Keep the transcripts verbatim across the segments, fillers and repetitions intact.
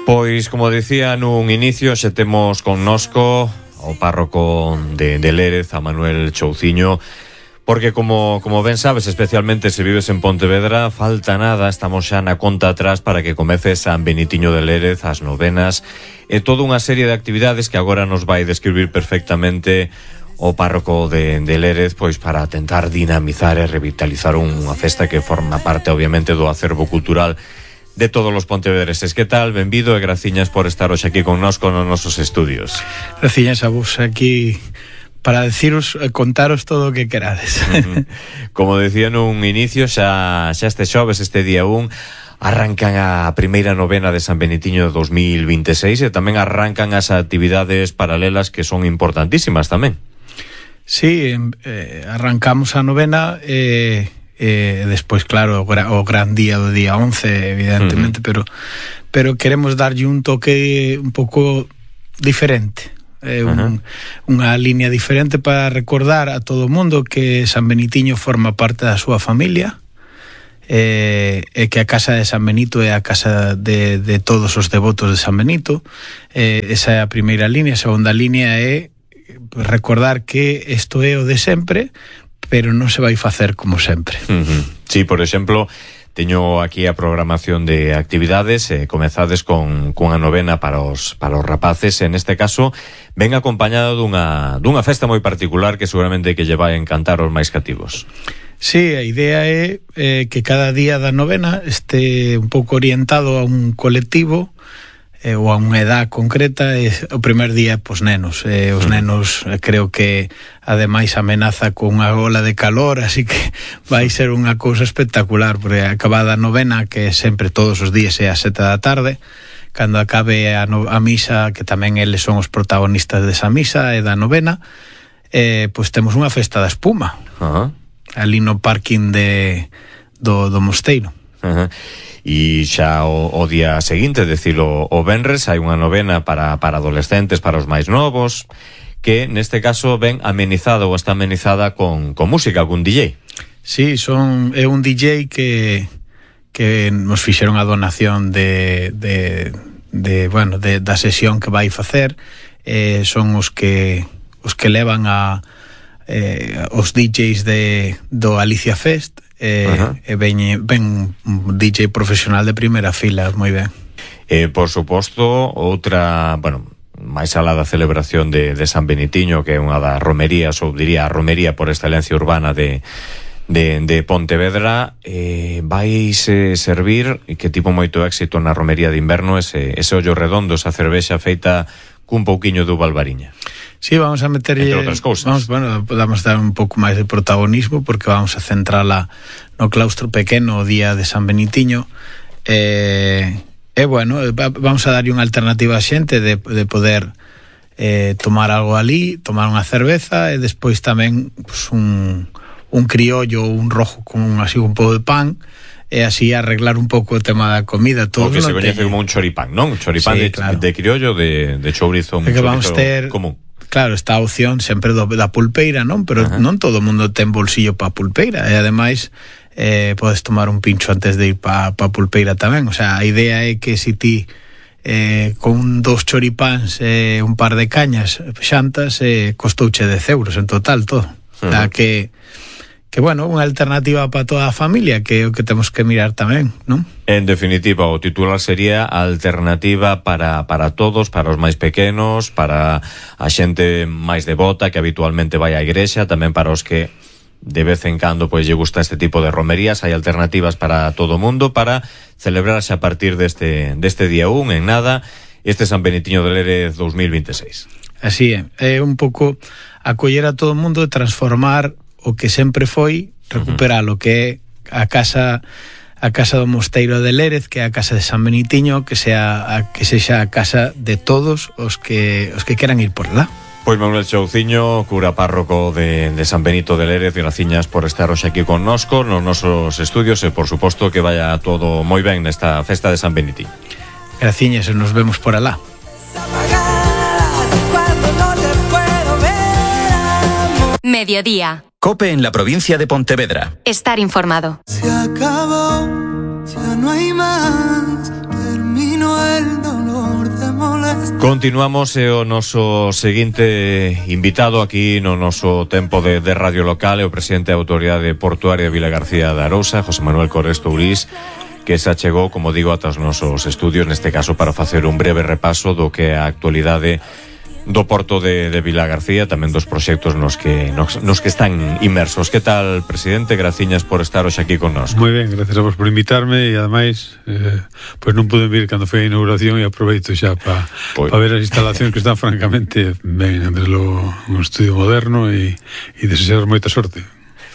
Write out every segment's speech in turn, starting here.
Pois, como dicía nun inicio, xe temos connosco o párroco de, de Lérez, a Manuel Chouciño, porque como, como ben sabes, especialmente se vives en Pontevedra, falta nada, estamos xa na conta atrás para que comece San Benitiño de Lérez, as novenas, e toda unha serie de actividades que agora nos vai describir perfectamente o párroco de, de Lérez, pois para tentar dinamizar e revitalizar unha festa que forma parte, obviamente, do acervo cultural de todos os pontevedreses. Que tal? Benvido e graciñas por estar hoxe aquí connosco nos nosos estudios. Graciñas a vos aquí para deciros, contaros todo o que querades. Uh-huh. Como decía nun inicio, xa, xa este xoves, este día un, arrancan a primeira novena de San Benitiño dos mil vinte e seis e tamén arrancan as actividades paralelas que son importantísimas tamén. Sí, eh, arrancamos a novena e... Eh, Eh, despois, claro, o, gra, o gran día do día once, evidentemente, uh-huh. pero pero queremos darlle un toque un pouco diferente, eh, un, uh-huh. unha línea diferente para recordar a todo o mundo que San Benitiño forma parte da súa familia, eh, e que a casa de San Benito é a casa de, de todos os devotos de San Benito. Eh, esa é a primeira línea. A segunda línea é recordar que isto é o de sempre, pero non se vai facer como sempre. Uh-huh. Sí, por exemplo, teño aquí a programación de actividades, eh, comezades con cunha novena para os para os rapaces, en este caso ven acompañado dunha dunha festa moi particular que seguramente que lle vai encantar aos máis cativos. Sí, a idea é eh, que cada día da novena este un pouco orientado a un colectivo eh, ou a unha edad concreta. Eh, o primer día, pois, nenos. Eh, os nenos, eh, creo que ademais amenaza con unha ola de calor, así que vai ser unha cousa espectacular, porque acabada a novena, que sempre todos os días é a sete da tarde, cando acabe a, no, a misa, que tamén eles son os protagonistas desa misa e da novena, eh, pois temos unha festa da espuma, uh-huh. ali no parking de, do, do mosteiro. Uh-huh. E xa o, o día seguinte, decilo, o venres, hai unha novena para, para adolescentes, para os máis novos, que neste caso ven amenizada ou está amenizada con, con música, con D J. Sí, son, é un D J que, que nos fixeron a donación de, de, de, bueno, de, da sesión que vai facer. Eh, son os que, os que levan a eh, os D Js de, do Alicia Fest. Eh, uh-huh. E ven, ven un D J profesional de primeira fila, moi ben. Eh, por suposto, outra, bueno, máis alá da celebración de, de San Benitiño, que é unha das romerías, ou diría a romería por excelencia urbana de, de, de Pontevedra, eh, vais eh, servir, e que tipo moito éxito na romería de inverno, ese, ese ollo redondo, esa cervexa feita cun pouquiño de uva albariña. Sí, vamos a meterlle, entre outras cousas. Vamos, bueno, podemos dar un pouco máis de protagonismo, porque vamos a centrala no claustro pequeno o día de San Benitiño. E, e bueno, vamos a darlle unha alternativa a xente de, de poder eh, tomar algo ali, tomar unha cerveza, e despois tamén pues, un, un criollo, un rojo con un, así un pouco de pan, e así arreglar un pouco o tema da comida. Todo o que se coñece como un choripán, non? Un choripán sí, de, claro. de criollo, de, de chourizo, un que chourizo vamos ter común. Claro, está a opción sempre do, da pulpeira, non? Pero uh-huh. non todo o mundo ten bolsillo pa pulpeira, e ademais eh, podes tomar un pincho antes de ir pa, pa pulpeira tamén. O sea, a idea é que se ti eh, con dos choripáns e eh, un par de cañas xantas, eh, costouche dez euros en total todo. Uh-huh. O sea, que que bueno, unha alternativa para toda a familia, que é o que temos que mirar tamén, non? En definitiva, o titular sería alternativa para, para todos, para os máis pequenos, para a xente máis devota que habitualmente vai á igrexa, tamén para os que de vez en cando pois lle gusta este tipo de romerías. Hai alternativas para todo o mundo para celebrarse a partir deste, deste día un, en nada, este San Benitiño de Lérez dos mil vinte e seis. Así é, é un pouco acoller a todo o mundo e transformar o que sempre foi, recuperar o que é a casa a casa do Mosteiro de Lérez, que é a casa de San Benitiño, que sea a, que sexa a casa de todos os que os que queran ir por lá. Pois Manuel Chouciño, cura párroco de, de San Benito de Lérez, graciñas por estar hoxe aquí connosco nos nosos estudios, e por suposto que vaya todo moi ben nesta festa de San Benitiño. Graciñas, e nos vemos por alá. Mediodía. COPE en la provincia de Pontevedra. Estar informado. Se acabó, ya no hay más. Continuamos e o noso seguinte invitado aquí no noso tempo de, de radio local é o presidente da Autoridade Portuaria de Vilagarcía de Arousa, José Manuel Cores Tourís, que se achegou, como digo, ata os nosos estudios, neste caso para facer un breve repaso do que é a actualidade do Porto de, de Vilagarcía, tamén dos proxectos nos que nos, nos que están inmersos. Que tal, presidente? Graciñas por estar hoxe aquí con nós. Moi ben, gracias a vos por invitarme e ademais, eh, pois non pude vir cando foi a inauguración e aproveito xa para pa ver as instalacións que están francamente ben, entre lo, un estudio moderno e, e desear moita sorte.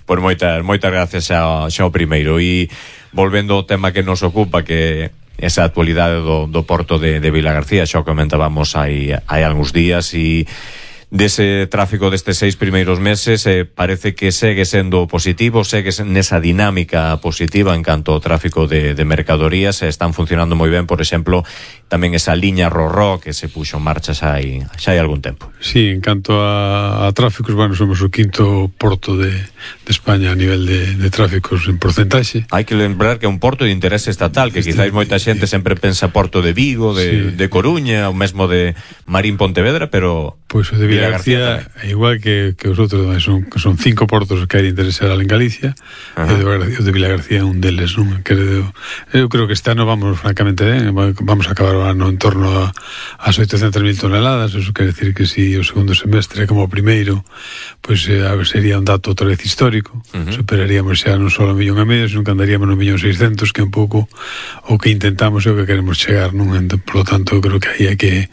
Pois moitas, moitas gracias xa, xa o primeiro. E volvendo ao tema que nos ocupa, que esa actualidade do, do Porto de, de Vilagarcía, xa o comentábamos hai, hai algúns días, e dese tráfico destes seis primeiros meses eh, parece que segue sendo positivo, segue nesa dinámica positiva en canto ao tráfico de, de mercadorías, eh, están funcionando moi ben, por exemplo, tamén esa liña Rorró que se puxo en marcha xa hai, xa hai algún tempo. Sí, en canto a, a tráficos, bueno, somos o quinto porto de, de España a nivel de, de tráficos en porcentaxe. Hai que lembrar que é un porto de interés estatal, que quizáis moita xente sempre pensa Porto de Vigo, de, sí. de Coruña, ou mesmo de Marín Pontevedra, pero pois pues o de Vilagarcía é igual que, que os outros, son, son cinco portos que hai de interesar en Galicia. Uh-huh. E o de Vilagarcía é un deles, non? Creo, eu creo que este ano vamos francamente ben, vamos a acabar o ano en torno a, as oitocentas mil toneladas. Eso quere decir que si o segundo semestre como o primeiro, pois pues, eh, sería un dato outra vez histórico. Uh-huh. Superaríamos xa non só o millón e medio, sino que andaríamos no millón seiscentos, que é un pouco o que intentamos e o que queremos chegar, non? Entón, por lo tanto, creo que aí hai que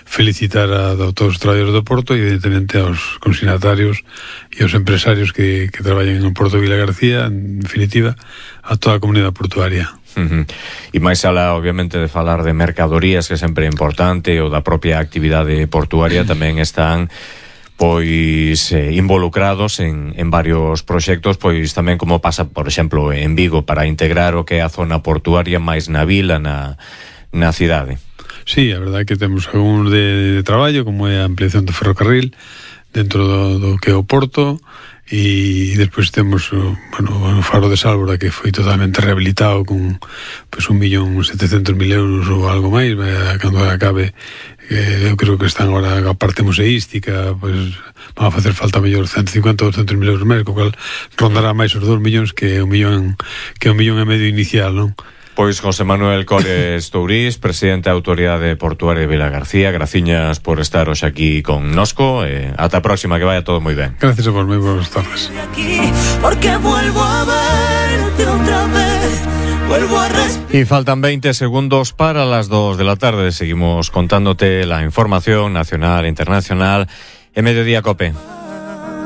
felicitar a, a todos os traballadores do Porto e evidentemente aos consignatarios e aos empresarios que, que traballan en o Porto de Vilagarcía, en definitiva, a toda a comunidade portuaria. Uh-huh. E máis alá, obviamente, de falar de mercadorías, que sempre é importante, ou da propia actividade portuaria, uh-huh. tamén están pois eh, involucrados en, en varios proxectos, pois tamén como pasa, por exemplo, en Vigo, para integrar o que é a zona portuaria máis na vila, na, na cidade. Sí, a verdade é que temos algún de, de traballo, como é a ampliación do ferrocarril dentro do, do que é o Porto, e despois temos o, bueno, o faro de Sálvora, que foi totalmente rehabilitado con pues, un millón setecentos mil euros ou algo máis, cando acabe, eh, eu creo que están agora a parte museística, pues, van a facer falta mellor ciento cincuenta ou doscientos mil euros máis, co cual rondará máis os dous millóns que un millón que un millón e medio inicial, non? Pois José Manuel Cores Tourís, presidente da Autoridade Portuaria de Vilagarcía, graciñas por estar hoxe aquí con nosco, e ata a próxima, que vaya todo moi ben. Gracias a vos, moi boas tardes. Y faltan veinte segundos para las dos de la tarde. Seguimos contándote la información nacional e internacional en Mediodía Cope.